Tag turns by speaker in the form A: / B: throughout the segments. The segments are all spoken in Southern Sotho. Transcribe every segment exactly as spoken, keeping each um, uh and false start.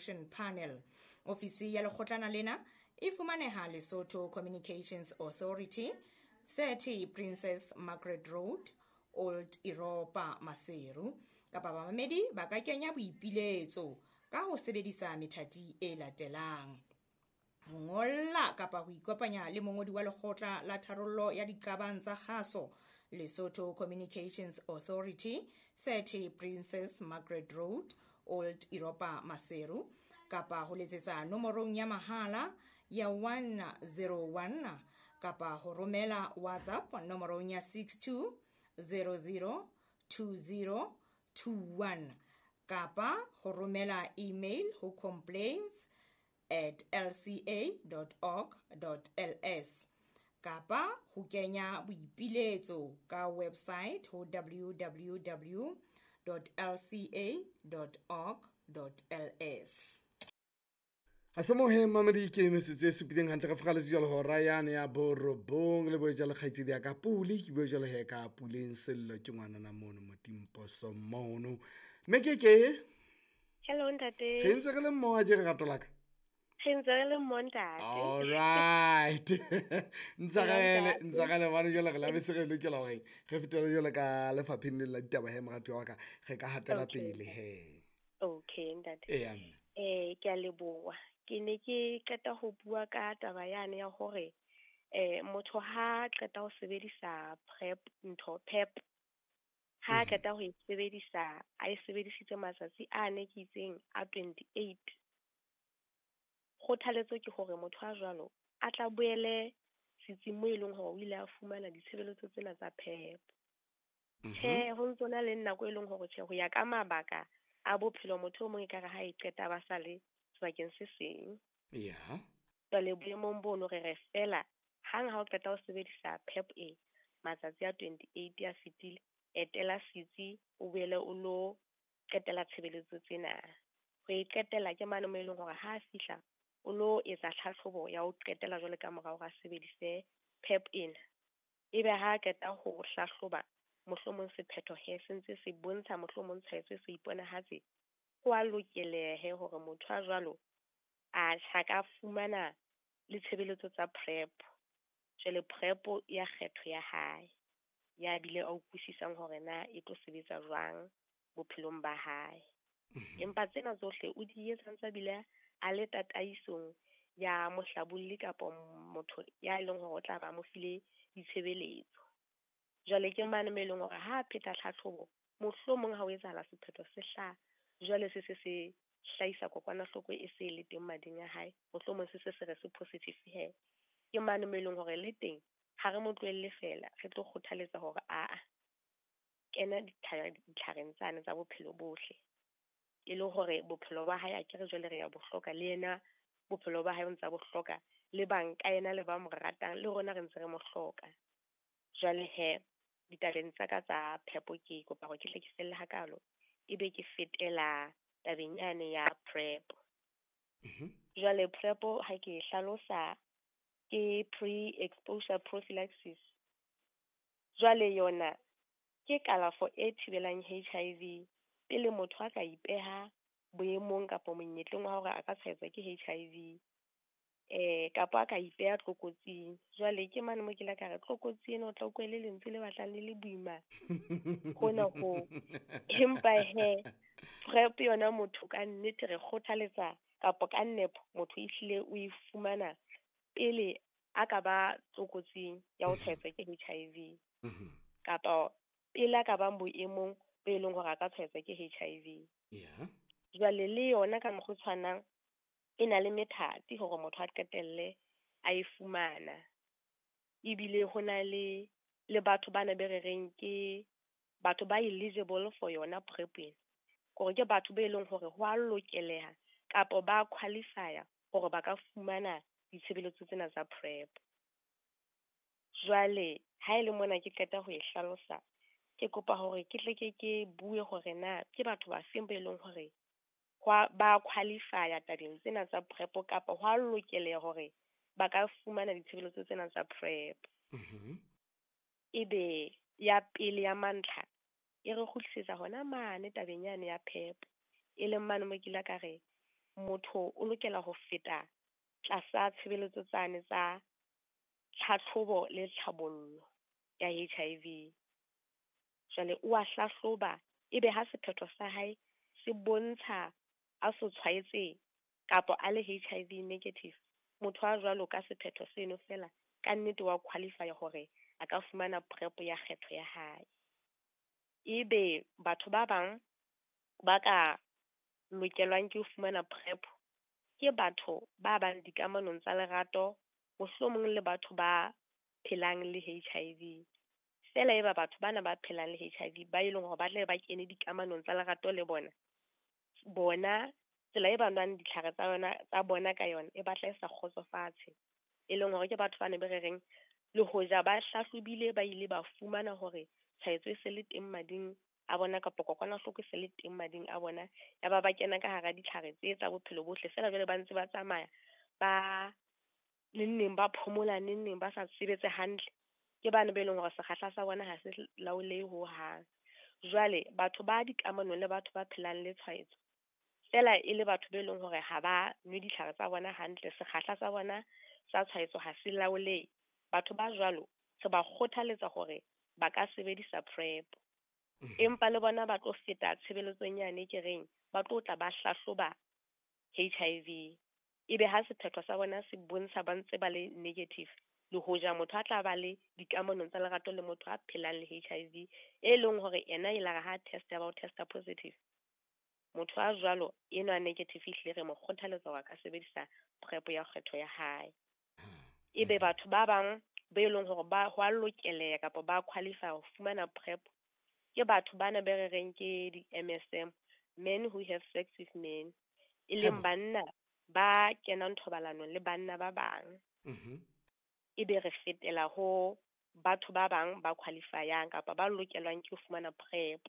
A: Resolution Panel. Ofisi ya lekgotlana lena e fumaneha Lesotho Communications Authority, thirty Princess Margaret Road, Old Europa, Maseru. Kapa bamamedi ba ka kenya boipiletso ka ho sebedisa methati e latelang: ho ngolla kapa ho ikopanya le mongodi wa lekgotla la tharollo ya diqabang tsa kgaso, Lesotho Communications Authority, thirty Princess Margaret Road, Old Europa, Maseru, kapa ho letsetsa nomorong ya mahala ya one zero one kapa ho romela WhatsApp nomorong ya six two zero zero two zero two one kapa ho romela email ho complaints at l c a dot org dot l s kapa ho kenya boipiletso ka website ho w w w dot l c a dot org dot l s.
B: Ha se mohe mamedi ke metsotso e supileng hantle re fokgaletse jwalo hora yane ya borobong le boe jwale kgaitsedi ya ka Pule, ke bue jwale he ka Puleng Sello ke ngwanana mono Motimposo mono. Mme ke ke?
C: Hello ntate.
B: Re ntse re le mmoho ke re rato la ka?
C: Re ntse re le mmoho ntate.
B: All right. Ntshwarele, ntshwarele bana jwale re la be se re lokela hore re fetele jwale ka lefapheng le la ditaba he moratuwa wa ka, re ka hatela pele he.
C: Okay ntate.
B: Eya mme.
C: Eh ke a leboha. Ke ne ke qeta ho bua ka taba yane ya hore eh motho ha qeta ho sebedisa PrEP ntho PEP ha qeta ho e sebedisa a e sebedisitse matsatsi a ne ke itseng a twenty-eight. Kgothaletso ke hore motho a jwalo a tla boele setsing mo e leng hore o ile a fumana ditshebeletso tsena tsa PEP. Tjhe, ho ntso na le nako e leng hore tjhe ho ya ka mabaka a bophelo motho o mong ekare ha e qeta ba sa le sebakeng se seng.
B: Yeah.
C: Jwale boemong bono re re fela hang ha o qeta ho sebedisa PEP e matsatsi a twenty-eight a fetile, etela setsi o boele o lo qetela tshebeletso tsena. Ho e qetela ke mane mo e leng hore ha a fihla o lo etsa tlhahlobo ya ho qetela jwale ka morao ga sebedise PEP ena. Ebe ha qeta ho hlahloba mohlomong sephetho he se ntse se bontsha mohlomong tshwaetso e se iponahatse, ho a lokelehe hore motho a jwalo a tjha ka fumana le tshebeletso tsa PrEP. Jwale PrEP ya kgetho ya hae ya bile a utlwisisang hore na e tlo sebetsa jwang bophelong ba hae. Empa tsena tsohle o di etsa ntse bile a le tataisong ya mohlabolli kapa motho ya leng hore o tla ba mo file ditshebeletso. Jwale ke mane mo e leng hore ha pheta tlhahlobo mohlomong ha o etsahala sephetho se hlaha, jwale se se se hlahisa kokwanahloko e se le teng mading a hae, mohlomong se se se re se positive he. Ke mane mo e leng hore le teng ha re mo tlohelle fela, re tlo kgothaletsa hore aa kena ditlhareng tsane tsa bophelo bohle, e le hore bophelo ba hae akere jwale re ya bo hloka, le yena bophelo ba hae o ntsa bo hloka, le bang ka yena le ba mo ratang le rona re ntse re mo hloka. Jwale he ditabeng tsa ka tsa phepo ke kopa hore ke tle ke felle hakalo, ebe ke fetela tabeng yane ya PrEP. Jwale PrEP ha ke e hlalosa ke pre-exposure prophylaxis. Jwale yona ke kalafo e thibelang H I V pele motho a ka ipeha boemong kapa monyetleng wa hore a ka tshwaetswa ke H I V eh kapa a ka ipeha tlokotsing. Jwale ke mane mo ke la ka re tlokotsi ena o tla utlwa le lentswe le batlang le le boima hona ho, empa he PrEP yona motho ka nnete re kgothaletsa kapa ka nepo motho ehlile o e fumana pele a ka ba tlokotsing ya ho tshwaetswa ke H I V kapa pele a ka bang boemong bo e leng hore a ka tshwaetswa ke H I V.
B: Yeah.
C: Jwale le yona ka mokgwa o tshwanang e na le methati hore motho a qetelle a e fumana. Ebile ho na le le batho bana be re reng ke batho ba eligible for yona PrEP ena, hore ke batho be leng hore ho a lokeleha kapa ba qualify-a hore ba ka fumana ditshebeletso tsena tsa PrEP. Jwale ha e le mona ke qeta ho e hlalosa, ke kopa hore ke tle ke ke bue hore na ke batho ba feng ba e leng hore ba qualify-a tabeng tsena tsa PrEP kapa ho a lokeleha hore ba ka fumana ditshebeletso tsena tsa PrEP. Ebe ya pele ya mantlha e re kgutlisetsa hona mane tabeng yane ya PEP, e leng mane mo ke ile ka re motho o lokela ho feta tlasa tshebeletso tsane tsa tlhatlhobo le tlhabollo ya H I V. Jwale o a hlahloba, ebe ha sephetho sa hae se bontsha a so tshwaetse kapa a le H I V negative, motho a jwalo ka sephetho seno fela ka nnete wa qualify hore a ka fumana PrEP ya kgetho ya hae. Ebe batho ba bang ba ka lokelwang ke ho fumana PrEP ke batho ba bang dikamanong tsa lerato, mohlomong le batho ba phelang le H I V. Fela eba batho bana ba phelang le H I V ba e leng hore ba tle ba kene dikamanong tsa lerato le bona, bona tsela e ba nwang ditlhare tsa yona tsa bona ka yona e batla e sa kgotsofatse, e leng hore ke batho ba ne be re reng le hoja ba hlahlobile ba ile ba fumana hore tshwaetso e se le teng mading a bona kapa kokwanahloko e se le teng mading a bona, ya ba ba kena ka hara ditlhare tse tsa bophelo bohle, fela jwale ba ntse ba tsamaya ba neng neng ba phomola, neng neng ba sa sebetse hantle, ke bana be leng hore sekgahla sa bona ha se laolehe hohang. Jwale batho ba dikamanong le batho ba phelang le tshwaetso fela e le batho be leng hore ha ba nwe ditlhare tsa bona hantle, sekgahla sa bona sa tshwaetso ha se laolehe, batho ba jwalo re ba kgothaletsa hore ba ka sebedisa PrEP.
B: Mm-hmm.
C: Empa le bona ba tlo feta tshebeletsong yane ke reng ba tlo tla ba hlahloba H I V, ebe ha sephetho sa bona se bontsha ba ntse ba le negative, le hoja motho a tla ba le dikamanong tsa lerato le motho a phelang le H I V e leng hore ena e la re ha test ya ba o testa positive, motho a jwalo enwa negative ehlile re mo kgothaletsa hore a ka sebedisa PrEP ya kgetho ya hae. Ebe batho ba bang be leng hore ba ho a lokeleha kapa ba qualify ho fumana PrEP ke batho bana be re reng ke di-M S M, men who have sex with men, e leng
B: Hebo.
C: banna ba kenang thobalanong le banna ba bang.
B: Mm-hmm.
C: Ebe re fetela ho batho ba bang ba qualifyang kapa ba lokelwang ke ho fumana PrEP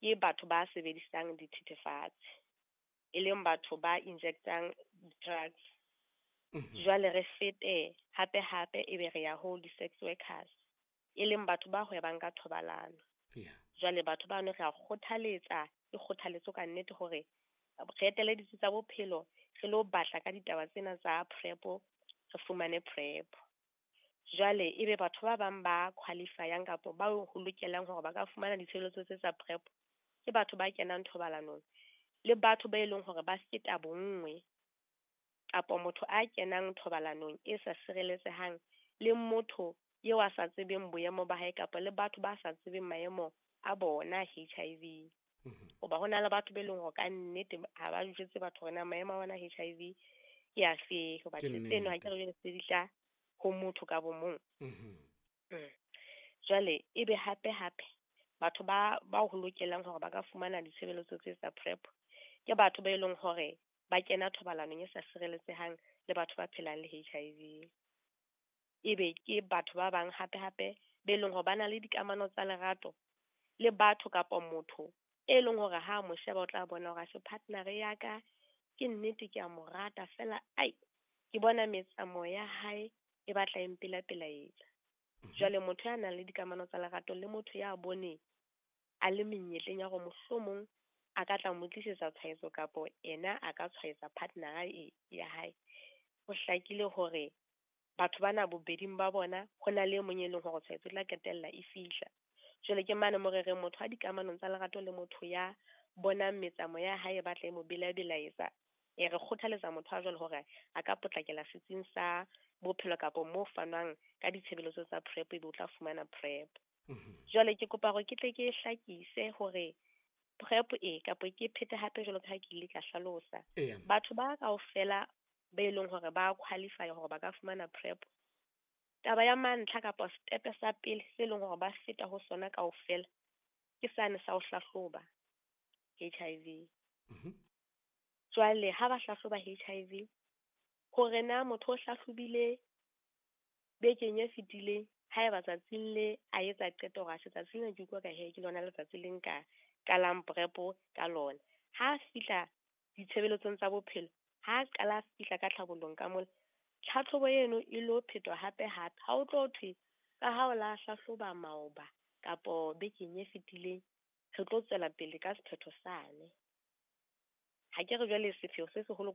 C: ke batho ba sebedisang dithethefatsi, e leng batho ba injectang drugs.
B: Mm-hmm.
C: Jwale re fete hape hape ebe re ya ho di-sex workers, e leng batho ba hwebang ka thobalano.
B: Yeah.
C: Jwale batho bano re a kgothaletsa, ke kgothaletso ka nnete hore re etele ditsi tsa bophelo, re lo batla ka ditaba tsena tsa PrEP, re fumane PrEP. Jwale ebe batho ba bang ba qualifyang kapa ba ho lokelang hore ba ka fumana ditshebeletso tse tsa PrEP ke batho ba kenang thobalanong le batho ba e leng hore ba feta bonngwe, kapa motho a kenang thobalanong e sa sireletsehang le motho eo a sa tsebeng boemo ba hae kapa le batho ba sa tsebeng maemo a bona H I V.
B: Mm-hmm.
C: Hoba ho na le batho be leng hore ka nnete ha ba jwetse batho hore na maemo a bona H I V ke afe, hoba
B: Ke
C: tseno ha
B: nnete.
C: ke re jwale se di tla ho motho ka bo mong.
B: Mm-hmm.
C: Mm. Jwale ebe hape hape batho ba ba ho lokelang hore ba ka fumana ditshebeletso tse tsa PrEP ke batho ba e leng hore ba kena thobalanong e sa sireletsehang le batho ba phelang le H I V. Ebe ke batho ba bang hape hape be leng hore ba na le dikamano tsa lerato le batho kapa motho e leng hore ha mo sheba o tla bona hore a partner ya ka ke nnete ke a mo rata fela, ai ke bona metsamao ya hae e batla e mpela-pelaetsa.
B: Mm-hmm.
C: Jwale motho ya nang le dikamano tsa lerato le motho ya boneng a le menyetleng ya hore mohlomong a ka tla mo tlisetsa tshwaetso kapo ena a ka tshwaetsa partner e ya hae, ho hlakile hore batho bana bobeding ba bona ho na le e mong e leng hore tshwaetso e tla qetella e fihla. Jwale ke mane mo re reng motho a dikamanong tsa lerato le motho ya bonang metsamao ya hae e batla e mo bela-belaetsa, e re kgothaletsa motho a jwalo hore a ka potlakela setsing sa bophelo kapo mo fanwang ka ditshebeletso tsa PrEP ebe o tla fumana PrEP.
B: Mm-hmm.
C: Jwale ke kopa hore ke tle ke hlakise hore PrEP e kapo ke phete hape jwalo ka ha ke ile ka hlalosa.
B: Eya.
C: Batho ba kaofela ba e leng hore ba qualify hore ba ka fumana PrEP, taba ya mantlha kapa step sa pele se leng hore ba feta ho sona kaofela ke sane sa ho hlahloba H I V.
B: Mm-hmm.
C: Jwale ha ba hlahloba H I V, hore na motho o hlahlobile bekeng e fetileng, haeba tsatsing le a etsa qeto hore atjhe tsatsing lena ke utlwa ka he ke lona letsatsi le nka qalang PrEP ka lona. Ha a fihla ditshebeletsong tsa bophelo, ha a qala a fihla ka tlhabollong ka mola, tlhatlhobo eno e lo phetwa hape hape. Ha o tlo thwe ka ha o la hlahloba maoba kapo bekeng e fetileng, re tlo tswela pele ka sephetho sane. Ha ke re jwale sepheo se seholo